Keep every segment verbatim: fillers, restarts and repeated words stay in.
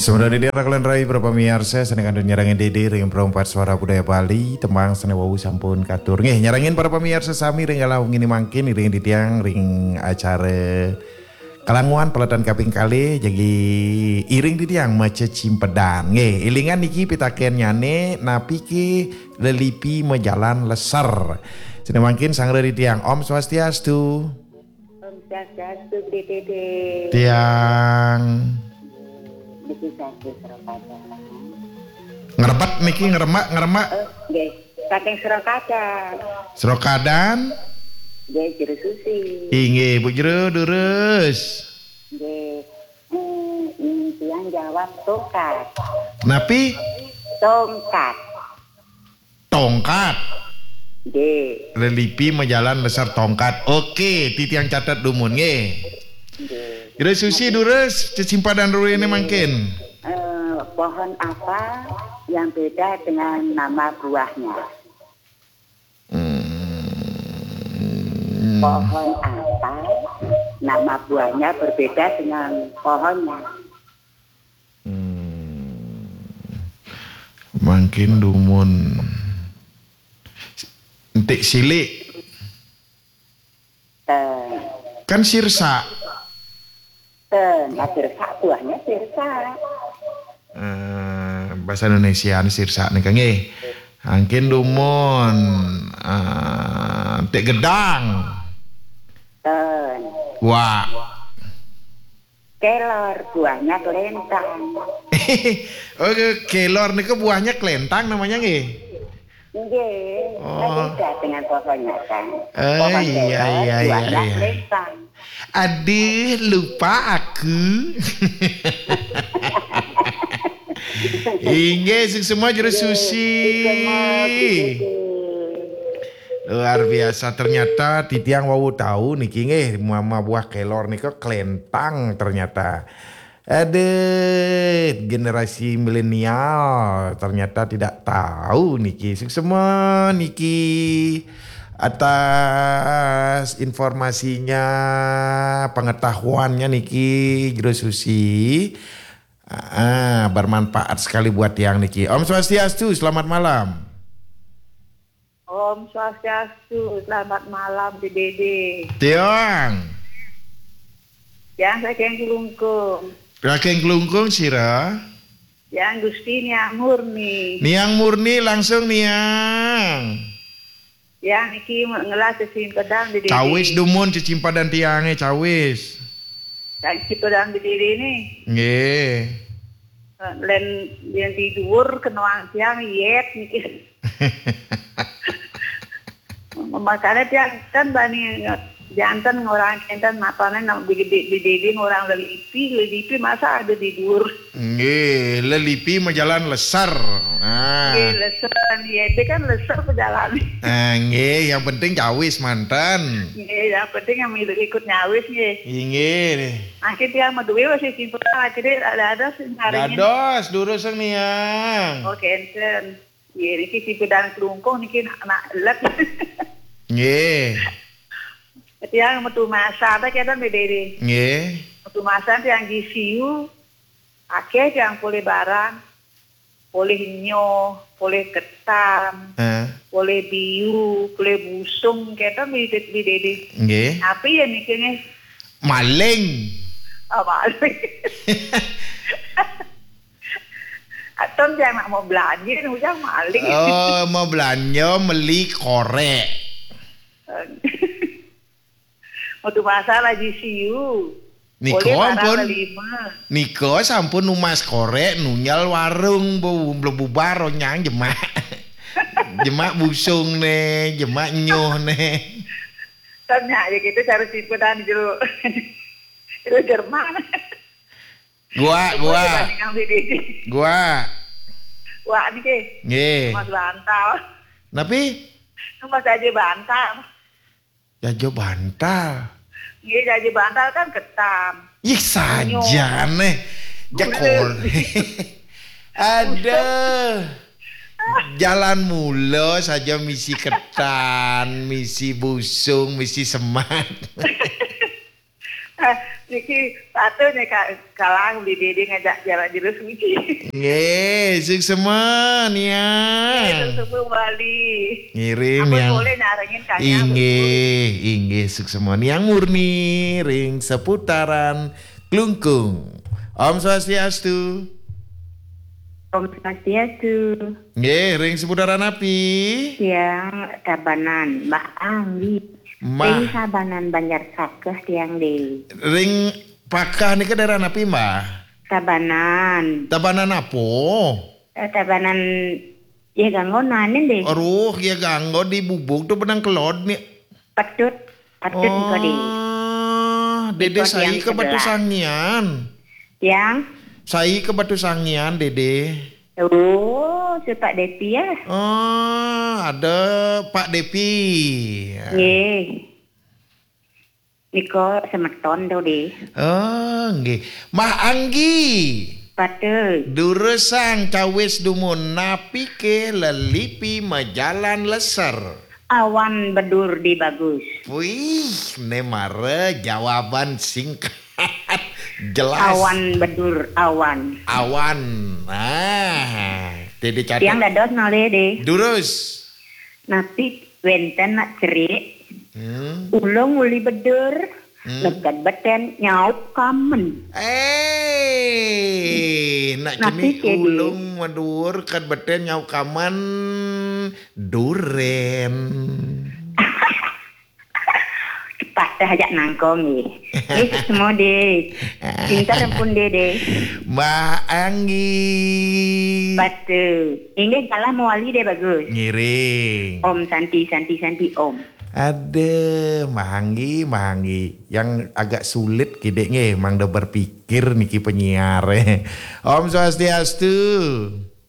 Sebenarnya dia rakulan rai para pamiarsa, sané kantun nyarengin Dédé ring Perempat Suara Budaya Bali, tembang sané wau sampun katur. Nggih, nyarengin para pamiarsa sami ring galah wengi mangkin, iring titiang ring acara Kalanguan Peletan kaping kalih, jagi iring titiang maca cimpedan. Nggih, élingan niki pitakennyané, napi ké lelipi majalan leser? Sané mangkin sangra titiang. Om Swastiastu. Om Swastiastu, Dédé. Tiang. Niki saking Srokadan. Ngrebet niki, ngremek, ngremek. Oh, nggih. Saking Srokadan. Srokadan. Nggih, Jero Susi. Inggih, Bu Jero, durus. Nggih. Hmm, ini tiang jawab tongkat. Napi? Tongkat. Tongkat. Nggih. Lelipi majalan leser tongkat. Oke, titiang catet dumun nggih. Nggih. Jero Susi durus, cecimpadan ruéné mangkin. Eh, pohon apa yang beda dengan nama buahnya? Hmm. Pohon apa nama buahnya berbeda dengan pohonnya? Hmm. Mangkin dumun entik silik. Eh, Kan sirsak. Eh, nah, sirsak, buahnya sirsak. Eh, bahasa Indonesia ni sirsak nika nggih. Mangkin dumun, eh, entik gedang. Eh, Wah. Kelor, buahnya kelentang. Oke, kelor niku buahnya kelentang namanya nggih. Nggih, Oh. Beda dengan pohonnya kan. Eh, Pohon iya, kelor, iya, iya, buahnya iya. Kelentang. Aduh, lupa aku. Inggih, suksma Jero Susi. Suksma, Dédé. Luar biasa, ternyata titiang wau tahu niki nggih, mama buah kelor nika kelentang ternyata. Aduh, generasi milenial ternyata tidak tahu niki. Suksma niki atas informasinya, pengetahuannya niki, Jero Susi. Ah, bermanfaat sekali buat tiang niki. Om Swastiastu, selamat malam. Om Swastiastu, selamat malam, Dédé. Tiang. Tiang saking Klungkung. Saking Klungkung sira? Tiang Gusti Niang Murni. Niang Murni langsung Niang. Tiang niki ngelah cecimpadan Dédé. Cawis dumun cecimpadan tiangé, cawis. Cecimpadan Dédé ni. Nggih. Lén yang di dhuwur kenoang tiang yet niki. Makanya tiang kan bani janten ngorang kenten matane nang bidi-bidi ngorang lelipi, lelipi masa ada di dhuwur. Nggih, lelipi majalan leser. Nah. Nggih, leser kan yet kan leser pejalan. Ah, nggih, yang penting cawis manten. Nggih, yang penting yang ikut nyawis nggih. Inggih. Akhir tiang madué masih simpen akhirnya ada-ada sing nyaringin. Dados, durus niang. Oh, kenten. Nggih, niki si pedang kelungkung niki nak, nak let. Nggih. Tiang metu masa ta kenten Dédé. Nggih. Metu masa tiang G C U, akeh tiang polih barang, polih nyoh, polih ketan, Eh. Polih biu, polih busung, kenten di, di Dédé. Nggih. Tapi ya niki nggih. Maling. Oh, maling. Aton tiang nak mau belanja, ujang maling. Oh, mau belanja, meli korek. Metu pasar G C U. Nika Polih barang ampun. Lelima. Nika sampun numas korek, nunjal warung, bu, mlebu bar, onyang jemak. Jemak busung né, jemak nyoh né. Tanya aja gitu cara simpenan jero. Jero Jerman. Gua, gua. Dibanding sama Dédé. Gua. Wah, niki. Nggih. Mas Bantal. Napi? Mas aja Bantal. Jajo Bantal. Nggih, jajo Bantal kan ketan. Ih, saja neh. Jakol. Aduh. Jalan mula saja misi ketan, misi busung, misi semat. Niki patut nih, Kak, kalang di Dede ngajak jalan jero suci. Nggih, suksma, Niang. Nggih, suksma Bali. Ngiring, Ampun, Niang. Boleh narengin kanya, inggih, inggih, suksma. Niang Murni ring seputaran Klungkung. Om Swastiastu. Om Swastiastu. Nggih, ring seputaran api? Tiang Tabanan, Mbah Anggi. Mah. Ring Tabanan Banjar Sakeh tiang deh. Ring Pakah nika daerah napi, Mbah? Tabanan. Tabanan apa? Eh, Tabanan ya ganggo nanin deh. Aduh, ya ganggo di bubuk tuh benang kelod nih. Patut, patut engko deh. Oh, Dede. Iko sai tiang ke Batu sebelah. Sangian. Tiang? Sai ke Batu Sangian, Dede. Oh, si Pak Depi ya. Oh, ada Pak Depi. Nggih. Niko semeton to deh. Oh, nggih. Mah Anggi. Patut. Durusang cawis dumun, napi ke lelipi majalan leser? Awan bedur di bagus. Wih, ne mara jawaban singkat. Jelas. Awan bedur, awan. Awan. Ah, Dede catet. Tiang dados nolih deh. Durus. Napi wenten nak cerik? Hmm. Ulung uli bedur, hmm, lekad beten nyaup kamen. Eh, nak cenik ulung madur kad beten nyaup kamen, duren. Patah ajak nangkong nggih. Nggih, semua deh. Pintar ampun deh, deh. Mbah Anggi. Batu. Inggih, salah mewali deh, bagus. Ngiring. Om Santi, Santi, Santi, Om. Aduh, Mbah Anggi, Mbah Anggi. Yang agak sulit kidek nggih, mangda berpikir niki penyiar. Om Swastiastu.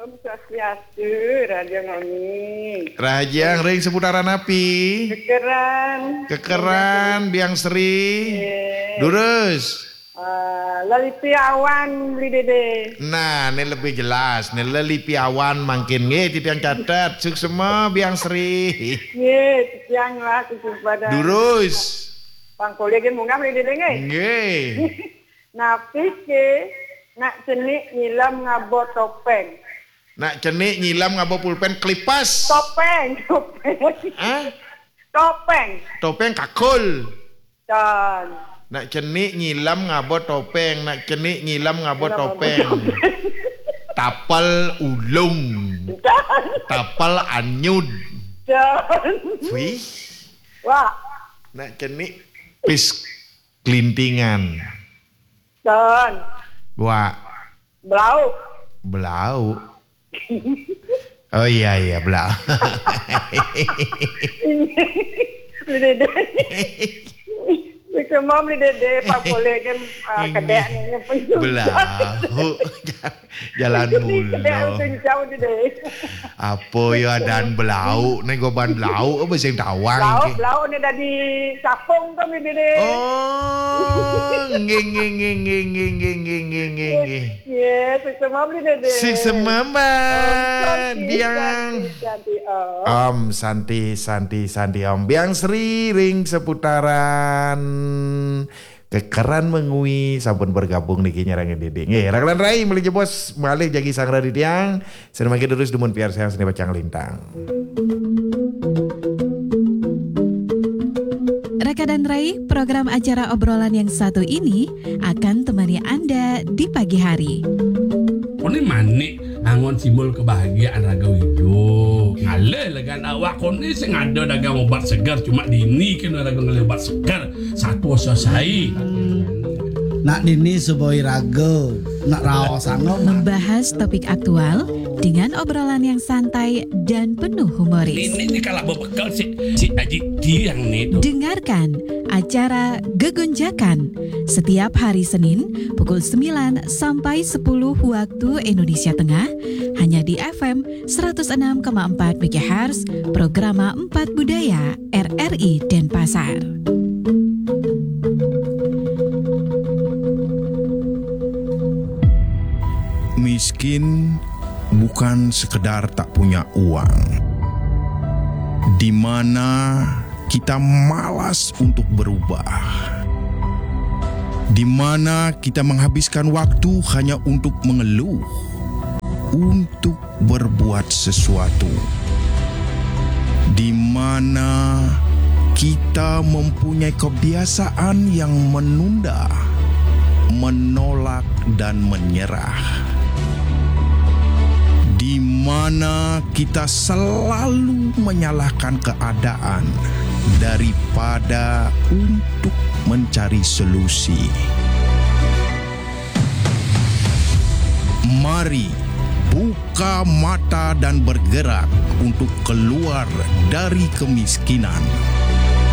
Om Swastiastu, Raja Ngoni. Rahajeng ring seputaran api? Kekeran. Kekeran, Biang Sri. Nggih. Durus. Ah, lelipi awan, Beli Dede. Nah, ini lebih jelas. Ini lelipi awan mangkin nggih, titiang catet. Suksma, Biang Sri. Nggih, titiang lah, suksma pada. Durus. Bang Kolegen munggah, Beli Dede, nggih? Nggih. Napi ke nak cenik nyilam ngaba topeng? Nak cenik nyilam ngaba pulpen, kelipas. Topeng, topeng. Hah? Topeng. Topeng kakul. Don. Nak cenik nyilam ngaba topeng, nak cenik nyilam ngaba topeng. Tapel ulung. Don. Tapel anyud. Don. Wih. Wah. Nak cenik pis kelintingan. Don. Wah. Belau. Belau. Oh iya, iya, belau. Beli Dede. Semua Beli Dede, Pak Polek kan, ah, kedek ni, ni pun. Belau. Jalan mulo. Kedek pun jauh, Dede. Apa ya, adan belau ni, goban belau apa sing tawang? Belau, belau ni dadi capung tu, Beli Dede. Oh, nggih, nggih, nggih. Ya, suksma, Beli Dede. Suksma, Mbak Diang. Santi, Santi, Om. Om Santi, Santi, Santi, Om. Biang Sri ring seputaran Kekeran Mengwi sampun bergabung niki nyerang Dede. Nggih, Raglan Rai malih jebos, malih jagi sang Raditya. Seni mangkin terus dumun piarsayang seni pacang lintang. Raka dan Rai, program acara obrolan yang satu ini akan temani Anda di pagi hari. Kone manik angon simbol kebahagiaan raga idup. Ngalih legan awak kone sing ada dagang obat segar, cuma dini kena raga ngalih obat segar. Satu selesai. Nak dini suboi raga, nak raos angon. Membahas topik aktual dengan obrolan yang santai dan penuh humoris. Ini ni kalau berbekal si, si Aji Tiang ni tu. Dengarkan acara Gegonjakan setiap hari Senin pukul sembilan sampai sepuluh waktu Indonesia Tengah, hanya di F M seratus enam koma empat megahertz, Programa Empat Budaya, R R I Denpasar. Miskin bukan sekedar tak punya uang, di mana kita malas untuk berubah. Di mana kita menghabiskan waktu hanya untuk mengeluh, untuk berbuat sesuatu. Di mana kita mempunyai kebiasaan yang menunda, menolak, dan menyerah. Di mana kita selalu menyalahkan keadaan daripada untuk mencari solusi. Mari buka mata dan bergerak untuk keluar dari kemiskinan.